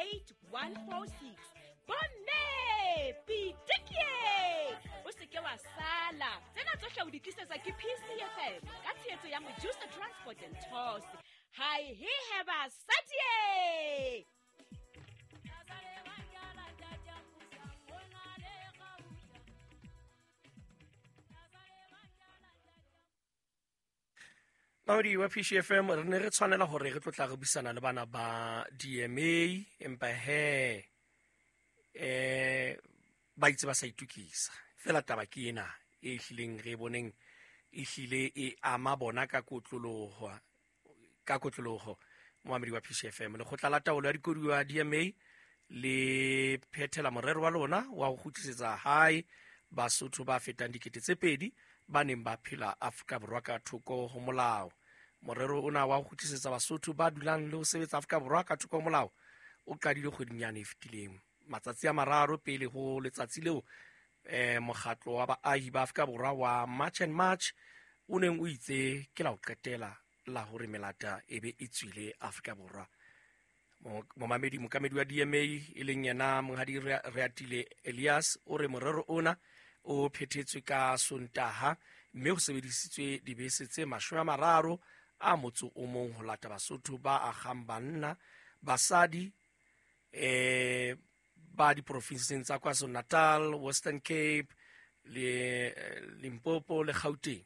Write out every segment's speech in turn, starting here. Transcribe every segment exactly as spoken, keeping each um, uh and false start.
eight one four six. Bomme pitikie, o se ke wa sala. Tsena tsohle o di tlisetsa ke P C F M ka tshehetso ya Mojusa Transport and Tours. Hai he he basadie. Maudi wa P C F M re ne re tshwanela hore re tlo tla re buisana le bana ba D M A, empa he eh ba itse ba sa itukisa. Fela taba ke ena e hlileng re boneng e hlile e ama bona ka kotloloho ka kotloloho moamedi wa P C F M. Lekgotla la taolo ya dikoduwa D M A le phethela morero wa lona wa ho kgutlisetsa hae Basotho ba fetang dikete tse pedi ba neng ba phela Afrika Borwa ka thoko ho molao. Morero ona wa ho kgutlisetsa Basotho ba dulang le ho sebetsa Afrika Borwa ka thoko ho molao o qadile kgweding yane e fetileng, matsatsi a mararo pele ho letsatsi leo eh mokgatlo wa baahi ba Afrika Borwa wa March and March o neng o itse ke la ho qetela la hore melata e be e tswile Afrika Borwa. Momamedi mokamedi wa D M A e leng yena Monghadi Reatile Elias o re morero ona o phethetswe ka Sontaha mme ho sebedisitswe dibese tse mashome a mararo a motso o mong ho lata Basotho ba agang banna, basadi eh ba diprofinseng tsa KwaZulu-Natal, Western Cape le Limpopo le Gauteng.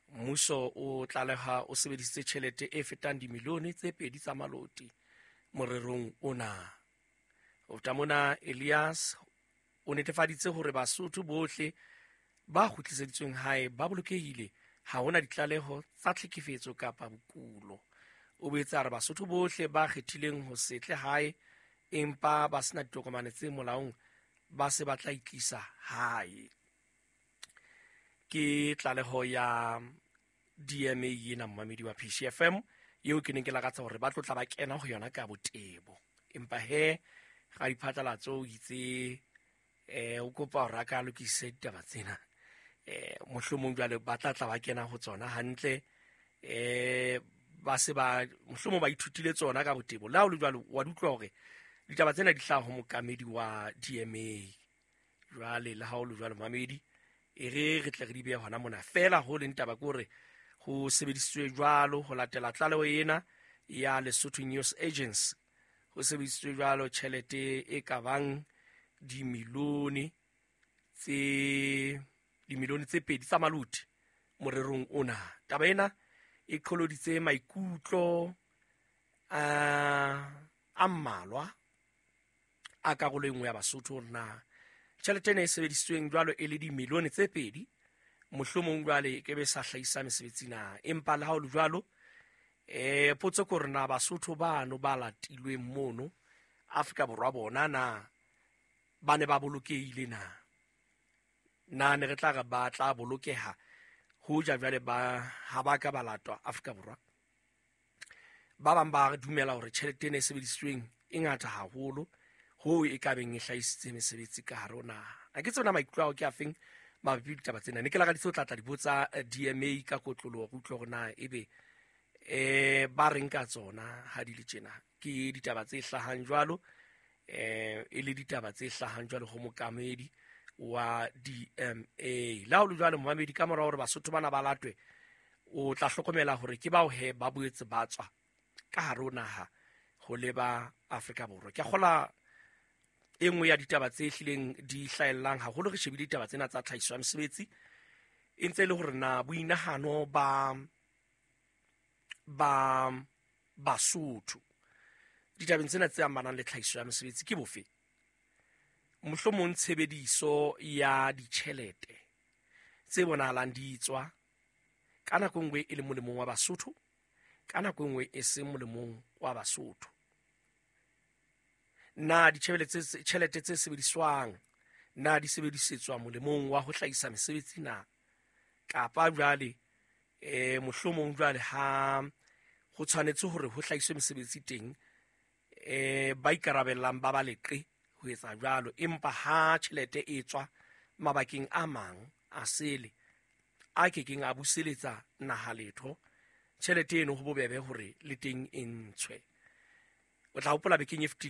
Mmuso o tlaleha o sebedisitse tjhelete e fetang dimilione tse pedi tsa maloti morerong ona. Ho feta mona, Elias o netefaditse hore Basotho bohle ba kgutliseditsweng hae ba bolokehile, ha hona ditlaleho tsa tlhekefetso kapa bokulo. O boetse a re Basotho bohle ba kgethileng ho se tle hae empa ba sena ditokomane tse molaong ba se ba tla itlisa hae. Ke tlaleho ya D M A ena momamedi wa P C F M eo ke neng ke lakatsa hore ba tlo tla ba kena ho yona ka botebo, empa he ga diphatlalatso o itse eh o kopa hore a ka lokise ditaba tsena, eh mohlomong jwale ba tla tla ba kena ho tsona hantle, eh ba se ba mohlomong ba ithutile tsona ka botebo. Le ha o le jwalo wa di utlwa hore ditaba tsena di hlaha ho mokamedi wa D M A. Jwale le ha o le jwalo mamedi, e re re tle re di behe hona mona fela. Ho leng taba ke hore ho sebedisitswe jwalo ho latela tlaleho ena ya Lesotho News Agency, ho sebedisitswe jwalo tjhelete e ka bang dimilione tse dimilione tse pedi tsa maloti morerong ona. Taba ena e qholoditse maikutlo a a mmalwa a karolo e nngwe ya Basotho hore na tjhelete ena e sebedisitsweng jwalo e le dimilione tse pedi mohlomong jwale e ke be sa hlahisa mesebetsi na. Empa le ha ho le jwalo eh potso ke hore na Basotho bano ba latilweng mono Afrika Borwa bona na ba ne ba bolokehile na, na ne re tla re ba tla bolokeha hoja jwale ba ha ba ka ba latwa Afrika Borwa. Ba bang ba dumela hore tjhelete ena e sebedisitsweng e ngata haholo ho e ka beng e hlahisitse mesebetsi ka hare ho naha. A ke tsona maikutlo ao ke a feng mabapi le ditaba tsena. Ne ke lakaditse ho tla tla di botsa D M A ka kotloloho re utlwe hore na ebe eh ba reng ka tsona ha di le tjena. Ke ditaba tse hlahang jwalo eh e le ditaba tse hlahang jwalo ho mokamedi wa D M A. Le ha ho le jwalo momamedi, ka mora hore Basotho bana ba latwe o tla hlokomela hore ke bao he ba boetse ba tswa ka hare ho naha ho leba Afrika Borwa. Ke a kgola e nngwe ya ditaba tse hlileng di hlaellang haholo re shebile ditaba tsena tsa tlhahiso ya mesebetsi e ntse e le hore na boinahano ba ba Basotho ditabeng tsena tse amanang le tlhahiso ya mesebetsi ke bofe. Mohlomong tshebediso ya ditjhelete tse bonahalang di tswa ka nako e nngwe e le molemong wa Basotho, ka nako e nngwe e seng molemong wa Basotho. Na ditjhelete tjhelete tse sebediswang na di sebedisetswa molemong wa ho hlahisa mesebetsi na, kapa jwale eh mohlomong jwale ha ho tshwanetse hore ho hlahiswe mesebetsi teng eh ba ikarabellang ba ba leqe ho etsa jwalo, empa ha tjhelete e tswa mabakeng a mang a sele a kekeng a buseletsa naha letho, tjhelete eno ho bobebe hore le teng e ntshwe. O tla hopola bekeng e fetileng